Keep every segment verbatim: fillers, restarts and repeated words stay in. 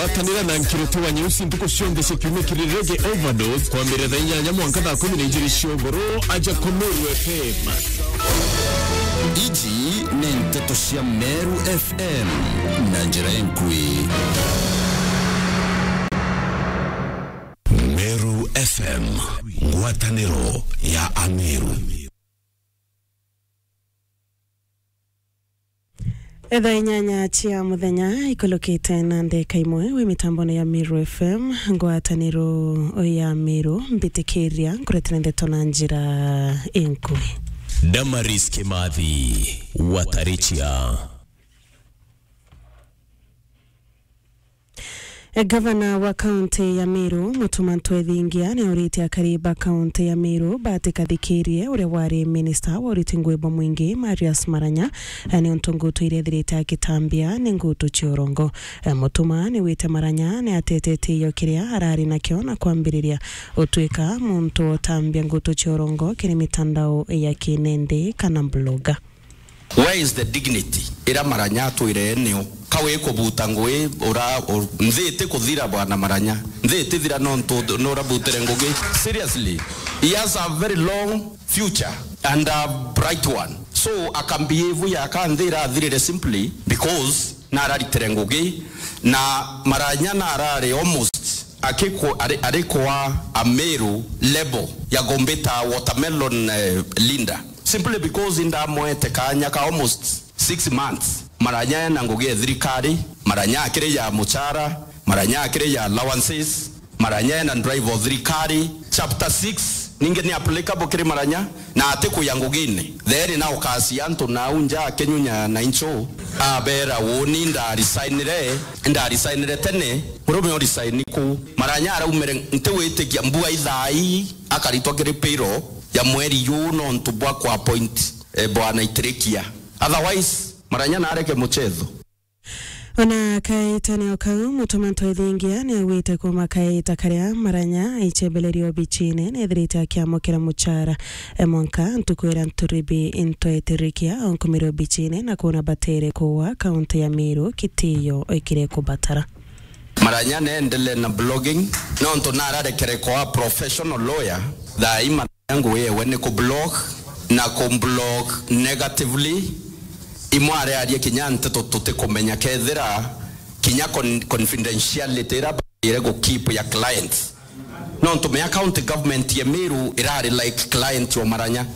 Tanira na Nkiroti wa Nyeusi ntuku cionthe cia kiumia kiri Reggae Overdose, kwambiriria thaa inyanya mwanka thaa kumi na ijiri cia ugoro, aja ku Meru F M. Iji ni nteto cia Meru F M na njira enkui. Meru F M, ngwataniro ya Ameru. Thaa inyanya cia muthenya ikulukite na ndeka imwe wi mitambone ya Meru F M, ngwataniro ya Meru, mbitikiria nkuretera ndeto na njira inkui. Damaris Kimathi, Watarichia. E, gavana wa kaunti ya Meru, Mutuma Ntwethingia, ni auritie akari ba kaunti ya Meru batikathikirie uria wari minista wa uriti ngui bwa mwingi, Marius Maranya, e, niuntu ngutu iria ethirite agitambia ni ngutu cia urongo. E, Mutuma ni wite Maranya ni atetetie iyo kiria arari nakio na kwambiriria utwika muntu utambia ngutu cia urongo kiri mitandao ya kinende kana blogger. Where is the dignity ira Maranya atwire nio? Ka wi kubuta ngui, ura, u-, nthi iti kuthira, bwana Maranya. Nthi iti thira nontu nurabutire ngugi. Seriously, he has a very long future and a bright one. So, akambehave ya ka nthi irathirire simply because nararitire ngugi, na Maranya narari almost akikwa-, ari-, arikwa Ameru level ya kumbita watermelon, eh, leader. Simply because indamwete kanya ka almost six months. Maranya ena ngugi ya thirikari, Maranya akiri ya muchara, Maranya akiri ya allowances, Maranya ena drive o thirikari. Chapter six ningi ni applicable kiri Maranya, na ati kuya ngugine. Theri na ukasia antu nau nja akinyunya na incho, abera, "Uuni ndarisignire, ndarisignire tene, murume urisign ku?" Maranya araumire, ntiwitikia mbua ithaa ii, akaritwa kiri payroll ya mweri juu nontu bwa ku appoint, eh, bwana Itirikia. Otherwise, Maranya nareke muchetho. Ona kaitane o kau, Mutuma Ntwethingia ni augite kuuma kaita karia Maranya aichembelerio obichine, ni ethirite akiamukira muchara, e, mwanka ntuku iria Nturibi Ntwetirikia aunkumire obichine na kuuna batere kuua kaunti ya Meru kitiyo ikire kubatara. Maranya neendelee na blogging, nontu nararekere kwa professional lawyer, thaa ii Maranya ngugi yewe ni kublog, na kublog negatively. Imwe ariaria kinya nteto tutikumenya kethira kinya con-, confidentiality ira baire gu keep ya clients. Nontu mea county government ya Meru irari like client wa Maranya.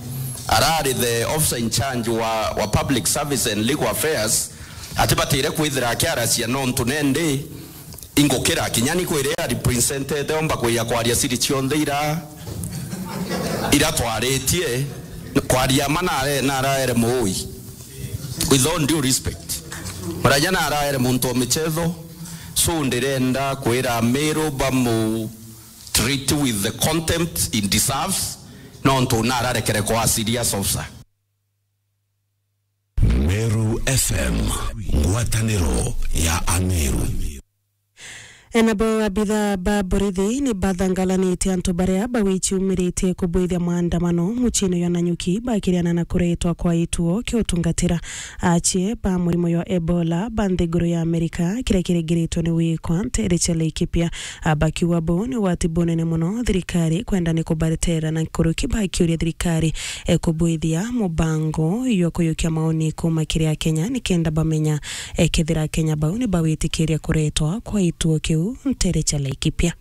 Arari the officer in charge wa, wa public service and legal affairs, atibatire kwithira akiaracia nontu nendi ingukira kinya ni kwire ari presented omba kuya kwaria siri cionthe ira, ira twaritie, kwaria ma nare-, naraere muui. With all due respect, Maranya naraere muntu wa michetho, so ndirenda kwira Meru bamu treat with the contempt he deserves, nontu nararekere kwa serious officer. Meru F M, ngwataniro ya Ameru. Enabo abitha ba borithi ni bathangalanitie antu baria bawiciumiritie kubwithia maandamano muciini jwa Nanyuki bakiriana na kuretwa kwa ituo kia utungatira achie ba murimo jwa Ebola ba nthiguru ya Amerika, kiria kiringiritwe ni wikwa ntere cia Laikipia. Abakiuga buu ni ugwati bunene mono thirikari kwenda ni kubaretera na nkuruki bakiuria thirikari, e, kubwithia mubango jwa kuyukia maoni kuuma kiri Akenya nikenda bamenya, e, kethira Akenya bau ni bawitikiria kuretwa kwa ituo kiu ntere cia Laikipia.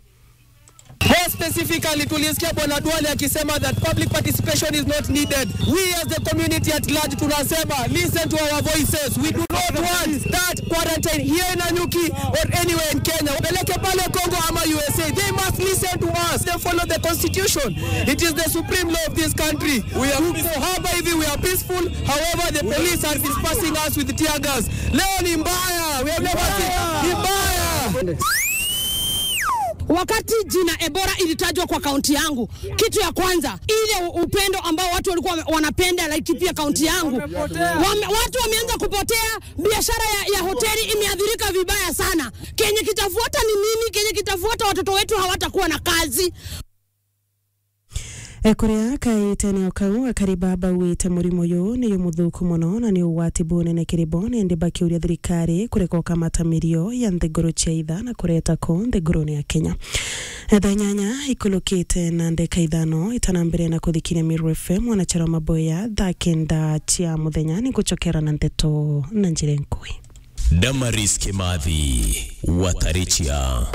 More specifically, tulisikia Bwana Duale akisema that public participation is not needed. We as the community at large tunasema, listen to our voices. We do not want that quarantine here in Nanyuki or anywhere in Kenya. Peleke pale Congo ama U S A. They must listen to us. They follow the constitution. It is the supreme law of this country. We are peaceful. Hapa hivi we are peaceful. However, the police are dispersing us with tear gas. Leo ni mbaya. We have never seen. Ni mbaya. Wakati jina Ebola ilitajwa kwa kaunti yangu, kitu ya kwanza, ile upendo ambao watu walikuwa wanapenda Laikipia kaunti yangu. Wame-, watu wameanza kupotea, biashara ya, ya hoteli imeathirika vibaya sana. Kenye kitafuata ni nini? Kenye kitafuata, watoto wetu hawatakuwa na kazi. Kuria kaitene o kau, akari baba bauite murimo uyu ni umuthuku muno na ni ugwati bunene kiri bo, nindi bakiuria thirikari kureka ukamata mirio ya nthiguru cia itha na kureta ku nthigurune ya Kenya. Thaa inyanya ikulukite na ndeka ithano itana mbere na kuthikiria Meru F M, mwanachara wa maboya, thaa kenda cia muthenya ni ngucokera na ndeto na njira nkui. Damaris Kimathi, Watarichia.